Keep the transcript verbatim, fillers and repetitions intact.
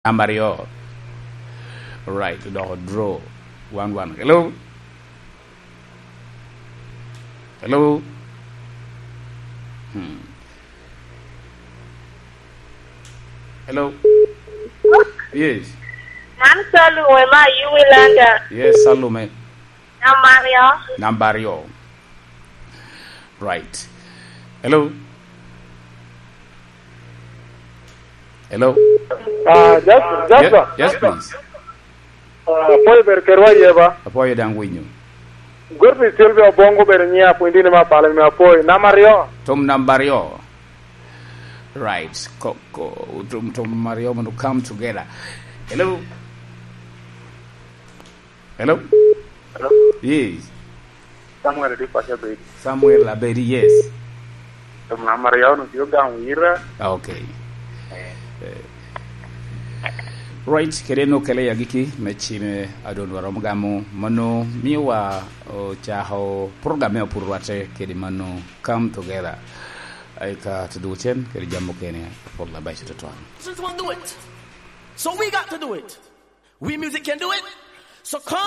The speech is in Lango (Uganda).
Namba aryo. Right, odoko draw. One one. Hello? Hello? Hmm. Hello? Yes. Man Salume ma Yuwi Landa. Yes, Salume. Namba aryo. Namba aryo. Right. Hello? Hello? Ah, Jas-, Jasper. Yes, yes, please. Ah, apwoyo bedo kedwa iye ba? Apwoyo daŋ winyo. Godfrey Sylvia Obongo bedo nyiŋa, pwiny dini me apala me apwoyo. Namba aryo. Tom namba aryo. Right. Ko, ko, tom, tom aryo mondo come together. Hello? Hello? Hello? Yes. Samuel di paco bedi. Samuel Abedi, yes. Tom namba aryo no tye Ogamo Ira. Ah, okay. Eh. Eh. Right, kede en okele i agikki me cime a doŋ dwaro romo gamo. Mano miowa ocako program me Apuro Rwatte kede mano Come Together. Eka to do cen kede jam mukene apol abeco tutwal. Since we'll do it, so we got to do it. We music can do it. So come